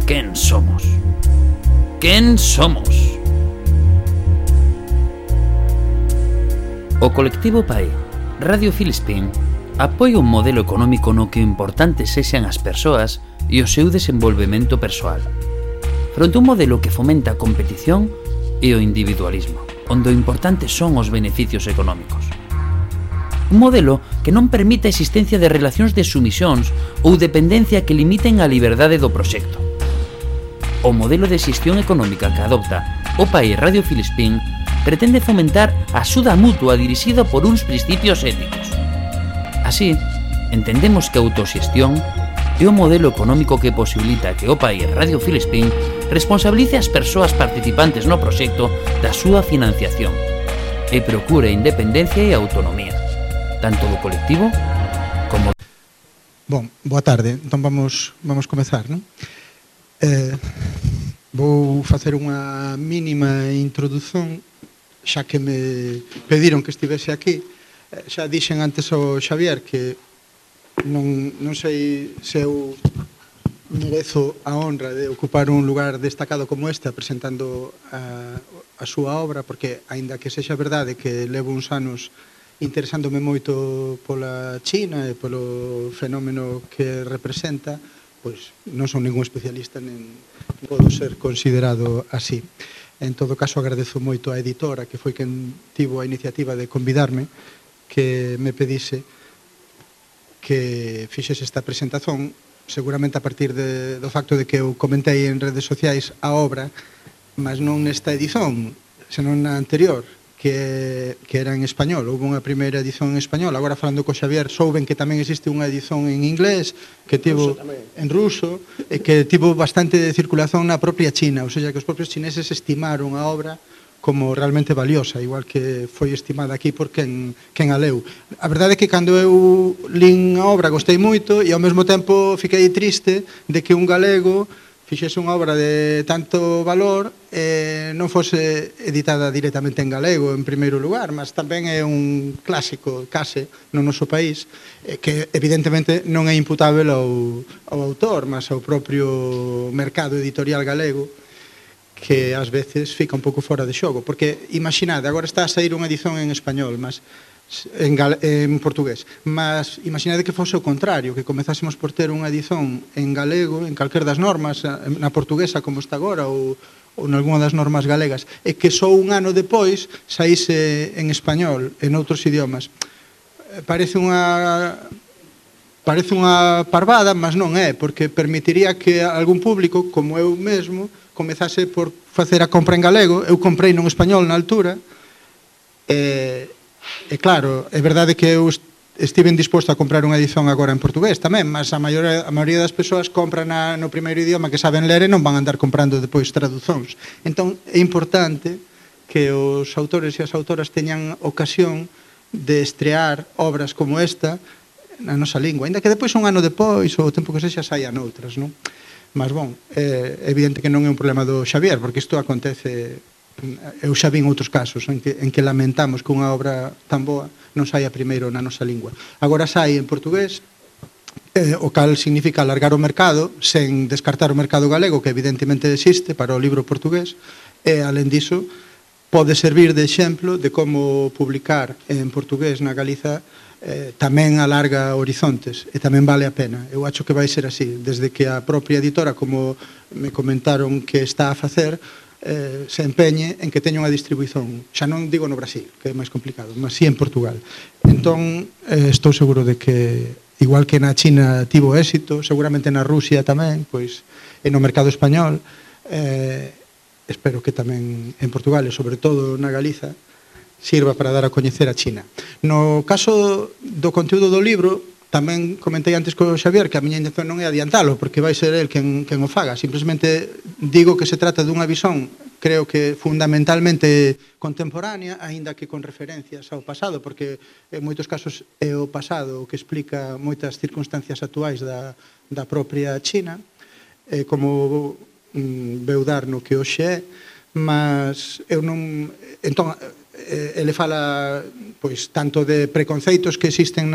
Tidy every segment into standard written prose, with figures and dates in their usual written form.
quen somos? Quen somos? O colectivo PAI, Radio Filispín, apoia un modelo económico no que o importante sexan as persoas e o seu desenvolvemento persoal, fronte a un modelo que fomenta a competición e o individualismo, onde o importante son os beneficios económicos. Un modelo que non permite a existencia de relacións de sumisións ou dependencia que limiten a liberdade do proxecto. O modelo de xestión económica que adopta o PAI Radio Filispín pretende fomentar a axuda mutua dirixida por uns principios éticos. Así, entendemos que a autoxestión é o modelo económico que posibilita que o PAI Radio Filispín responsabilice as persoas participantes no proxecto da súa financiación e procure independencia e autonomía, tanto do colectivo como... Bon, boa tarde. Entón vamos comezar, non? Vou facer unha mínima introdución, xa que me pediron que estivese aquí. Xa dixen antes ao Xavier que non sei se eu merezo a honra de ocupar un lugar destacado como este presentando a súa obra, porque aínda que sexa verdade que levo uns anos interesándome moito pola China e polo fenómeno que representa, pois non son ningún especialista nen podo ser considerado así. En todo caso, agradezo moito á editora, que foi quen tivo a iniciativa de convidarme, que me pedise que fixese esta presentación, seguramente a partir do facto de que eu comentei en redes sociais a obra, mas non nesta edición, senón na anterior, que era en español. Houve unha primeira edición en español. Agora, falando co Xavier, souben que tamén existe unha edición en inglés, que tivo en ruso, e que tivo bastante de circulación na propia China, ou seja, que os propios chineses estimaron a obra como realmente valiosa, igual que foi estimada aquí por quen a leu. A verdade é que cando eu lín a obra gostei moito e ao mesmo tempo fiquei triste de que un galego fixese unha obra de tanto valor e non fose editada directamente en galego en primeiro lugar, mas tamén é un clásico case no noso país que evidentemente non é imputável ao autor, mas ao propio mercado editorial galego, que ás veces fica un pouco fora de xogo, porque imaginade, agora está a sair unha edición en español, mas en portugués, mas imaginade que fose o contrario, que comezásemos por ter unha edición en galego, en calquer das normas, na portuguesa como está agora, ou nalgúna das normas galegas, e que só un ano depois saíse en español, en outros idiomas. Parece unha parvada, mas non é, porque permitiría que algún público, como eu mesmo, comezase por facer a compra en galego. Eu comprei non español na altura, e claro, é verdade que eu estive disposto a comprar unha edición agora en portugués tamén, mas a maioría das persoas compran no primeiro idioma que saben ler e non van a andar comprando depois traducións. Entón é importante que os autores e as autoras teñan ocasión de estrear obras como esta na nosa lingua, ainda que depois un ano depois ou o tempo que sexa saian outras, non? Mas, bon, é evidente que non é un problema do Xavier, porque isto acontece. Eu xa vin outros casos en que lamentamos que unha obra tan boa non saia primeiro na nosa lingua. Agora sai en portugués, o cal significa alargar o mercado sen descartar o mercado galego, que evidentemente existe para o libro portugués, e, alén diso, pode servir de exemplo de como publicar en portugués na Galiza tamén alarga horizontes e tamén vale a pena. Eu acho que vai ser así, desde que a propia editora, como me comentaron que está a facer, se empeñe en que teña unha distribuición, xa non digo no Brasil, que é máis complicado, mas sí en Portugal. Entón, estou seguro de que, igual que na China tivo éxito, seguramente na Rusia tamén, pois, e no mercado español, espero que tamén en Portugal e sobre todo na Galiza sirva para dar a coñecer a China. No caso do conteúdo do libro, tamén comentei antes co Xavier que a miña intención non é adiantalo, porque vai ser el quen o faga. Simplemente digo que se trata dunha visión, creo que fundamentalmente contemporánea, aínda que con referencias ao pasado, porque en moitos casos é o pasado o que explica moitas circunstancias actuais da propia China, como veu dar no que hoxe é, mas eu non... Entón, ele fala pois tanto de preconceitos que existen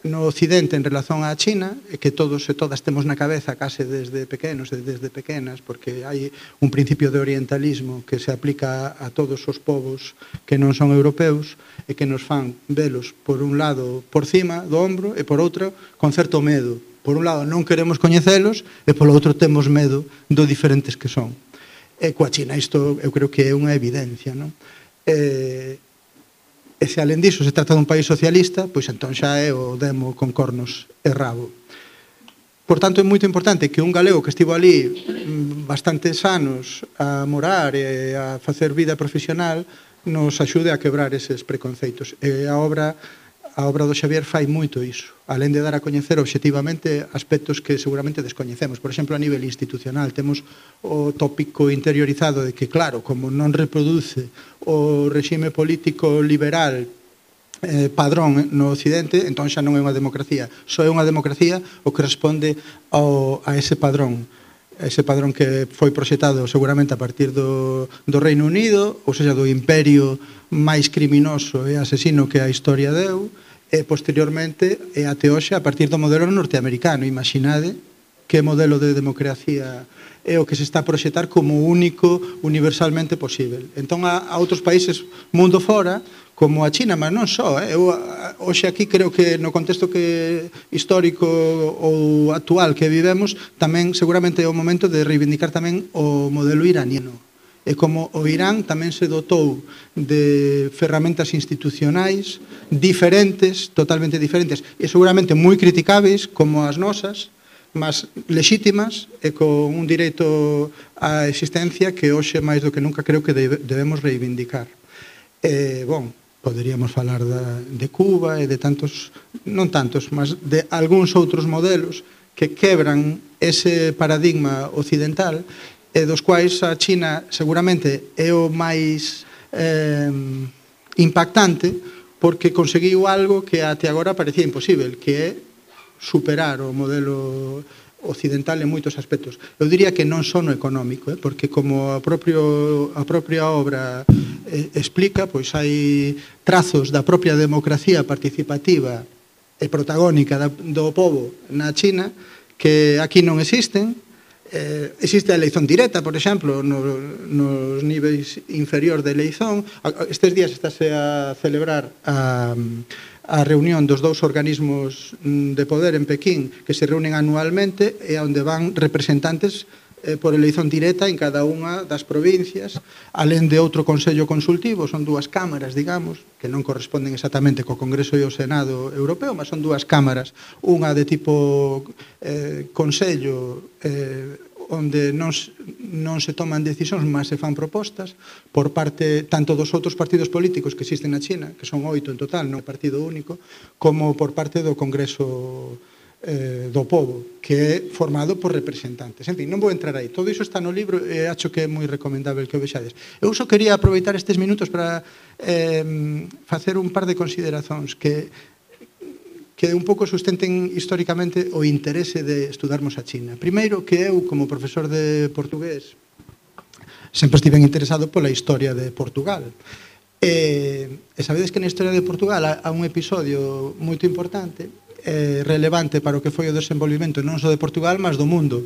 no Occidente en relación á China, que todos e todas temos na cabeza case desde pequenos e desde pequenas, porque hai un principio de orientalismo que se aplica a todos os povos que non son europeus e que nos fan velos, por un lado, por cima do ombro e por outro, con certo medo. Por un lado, non queremos coñecelos e polo outro temos medo do diferentes que son. E coa China isto eu creo que é unha evidencia, non? E se alén diso se trata dun país socialista, pois entón xa é o demo con cornos e rabo. Por tanto, é moito importante que un galego que estivo ali bastantes anos a morar e a facer vida profesional nos axude a quebrar eses preconceitos. E a obra do Xavier fai moito iso, alén de dar a coñecer obxectivamente aspectos que seguramente descoñecemos. Por exemplo, a nivel institucional, temos o tópico interiorizado de que, claro, como non reproduce o regime político liberal padrón no Occidente, entón xa non é unha democracia. Só é unha democracia o que responde a ese padrón que foi proxetado seguramente a partir do Reino Unido, ou seja, do imperio máis criminoso e asesino que a historia deu, e posteriormente e até hoxe a partir do modelo norteamericano. Imaginade que modelo de democracia é o que se está a proxetar como único universalmente posible. Entón, a outros países mundo fora, como a China, mas non só. Eu hoxe aquí creo que no contexto histórico ou actual que vivemos, tamén seguramente é o momento de reivindicar tamén o modelo iraniano. E como o Irán tamén se dotou de ferramentas institucionais diferentes, totalmente diferentes, e seguramente moi criticáveis como as nosas, mas lexítimas e con un direito á existencia que hoxe máis do que nunca creo que debemos reivindicar. Poderíamos falar de Cuba e de tantos, non tantos, mas de algúns outros modelos que quebran ese paradigma occidental e dos quais a China seguramente é o máis impactante porque conseguiu algo que até agora parecía imposible, que é superar o modelo occidental en moitos aspectos. Eu diría que non só no económico, porque como a propia obra explica, pois hai trazos da propia democracia participativa e protagónica do povo na China que aquí non existen. Existe a eleición directa, por exemplo, nos niveis inferior de eleición. Estes días estáse a celebrar a reunión dos dous organismos de poder en Pequín que se reúnen anualmente e onde van representantes por eleición directa en cada unha das provincias, alén de outro consello consultivo. Son dúas cámaras, digamos, que non corresponden exactamente co Congreso e o Senado Europeo, mas son dúas cámaras, unha de tipo consello onde non se toman decisións, mas se fan propostas por parte tanto dos outros partidos políticos que existen na China, que son 8 en total, non é partido único, como por parte do Congreso do povo, que é formado por representantes. En fin, non vou entrar aí. Todo iso está no libro e acho que é moi recomendable que o vexades. Eu só quería aproveitar estes minutos para facer un par de consideracións que un pouco sustenten históricamente o interese de estudarmos a China. Primeiro, que eu, como profesor de portugués, sempre estive interesado pola historia de Portugal. E sabedes que na historia de Portugal há un episodio moito importante, relevante para o que foi o desenvolvimento non só de Portugal, mas do mundo,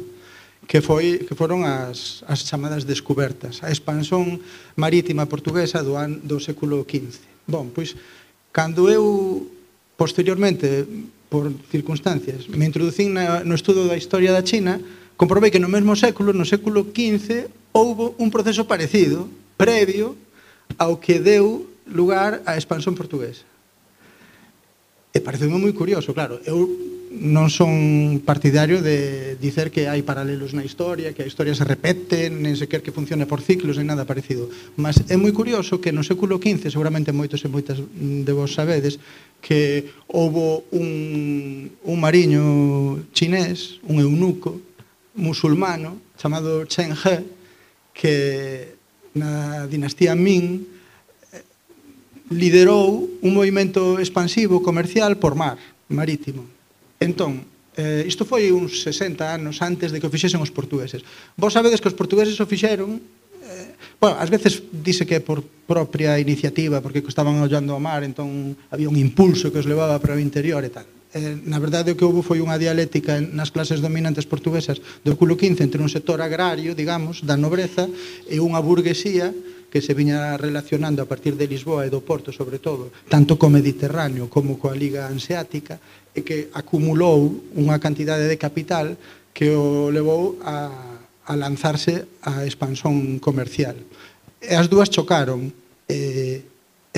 que foron as chamadas descubertas, a expansón marítima portuguesa do século XV. Bon, pois, cando eu posteriormente, por circunstancias, me introducín no estudo da historia da China, comprobei que no mesmo século, no século XV, houbo un proceso parecido, previo ao que deu lugar á expansón portuguesa. E pareceume moi curioso, claro, eu non son partidario de dicer que hai paralelos na historia, que a historia se repete, nen sequer que funcione por ciclos, nen nada parecido. Mas é moi curioso que no século XV, seguramente moitos e moitas de vos sabedes, que houbo un mariño chinés, un eunuco musulmano, chamado Chen He, que na dinastía Ming liderou un movimento expansivo comercial por mar, marítimo. Entón, isto foi uns 60 anos antes de que o fixesen os portugueses. Vos sabedes que os portugueses o fixeron, ás veces dice que por propia iniciativa, porque estaban ollando ao mar, entón había un impulso que os levaba para o interior e tal. Na verdade, o que houve foi unha dialéctica nas clases dominantes portuguesas do século XV entre un sector agrario, digamos, da nobreza, e unha burguesía que se viña relacionando a partir de Lisboa e do Porto, sobre todo, tanto co Mediterráneo como coa Liga Hanseática, e que acumulou unha cantidade de capital que o levou a lanzarse á expansón comercial. E as dúas chocaron, e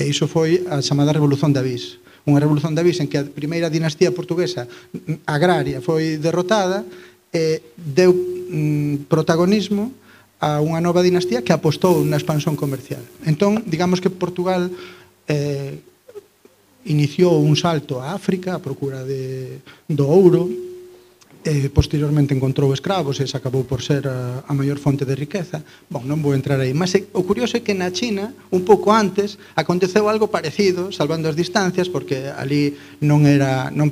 iso foi a chamada Revolución de Avís. Unha Revolución de Avís en que a primeira dinastía portuguesa agraria foi derrotada e deu protagonismo a unha nova dinastía que apostou na expansón comercial. Entón, digamos que Portugal iniciou un salto a África a procura do ouro, posteriormente encontrou escravos e se acabou por ser a maior fonte de riqueza. Bon, non vou entrar aí, mas o curioso é que na China, un pouco antes, aconteceu algo parecido, salvando as distancias, porque ali non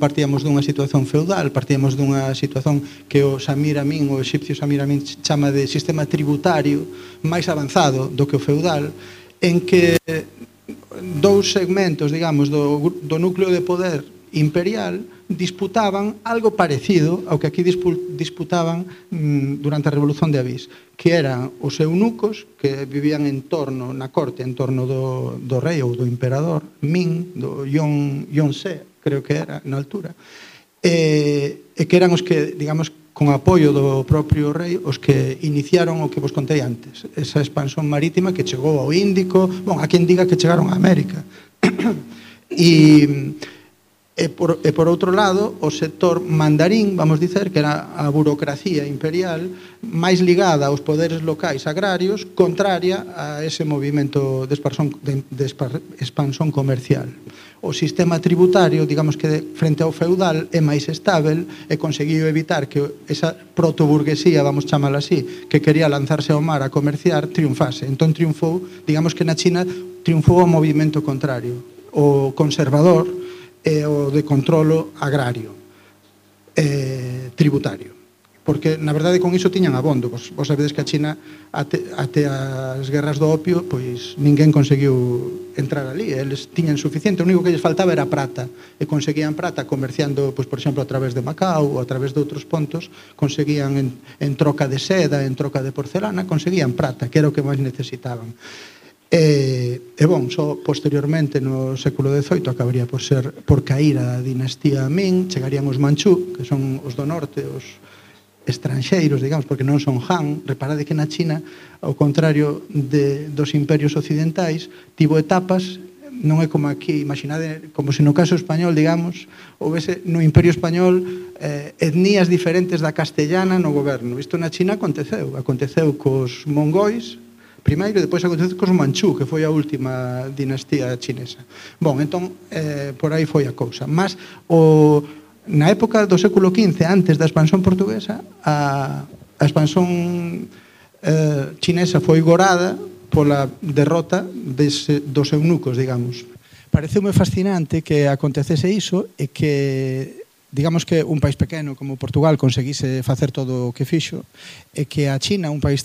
partíamos dunha situación feudal, partíamos dunha situación que o Samir Amin, o exipcio Samir Amin, chama de sistema tributario máis avanzado do que o feudal, en que dous segmentos, digamos, do núcleo de poder imperial disputaban algo parecido ao que aquí disputaban durante a Revolución de Avís, que eran os eunucos que vivían na corte, en torno do rei ou do emperador Ming, do Yongzheng, creo que era na altura, e que eran os que, digamos, con apoio do propio rei, os que iniciaron o que vos contei antes, esa expansón marítima que chegou ao Índico, a quen diga que chegaron a América. E por outro lado, o sector mandarín, vamos dicer, que era a burocracia imperial máis ligada aos poderes locais agrarios, contraria a ese movimento de expansón comercial. O sistema tributario, digamos que frente ao feudal, é máis estável e conseguiu evitar que esa protoburguesía, vamos chamala así, que quería lanzarse ao mar a comerciar, triunfase. Entón triunfou, digamos que na China triunfou o movimento contrario, o conservador, e o de controlo agrario, tributario. Porque, na verdade, con iso tiñan abondo. Vos sabedes que a China, até as guerras do opio, pois ninguén conseguiu entrar ali. Eles tiñan suficiente, o único que lles faltaba era prata. E conseguían prata comerciando, pois, por exemplo, a través de Macao ou a través de outros pontos, conseguían en troca de seda, en troca de porcelana, conseguían prata, que era o que máis necesitaban. Só posteriormente no século XVIII acabaría por cair a dinastía Ming, chegarían os Manchú, que son os do norte, os estranxeiros, digamos, porque non son Han. Reparade que na China, ao contrario dos imperios occidentais, tivo etapas, non é como aquí, imaginade, como se no caso español, digamos, houvese no Imperio Español etnías diferentes da castellana no goberno. Isto na China aconteceu cos mongóis, primeiro, e depois aconteceu cos Manchú, que foi a última dinastía chinesa. Entón, por aí foi a cousa. Mas, na época do século XV, antes da expansón portuguesa, a expansón chinesa foi gorada pola derrota dos eunucos, digamos. Pareceume fascinante que acontecese iso e que, digamos que un país pequeno como Portugal conseguise facer todo o que fixo, e que a China, un país tan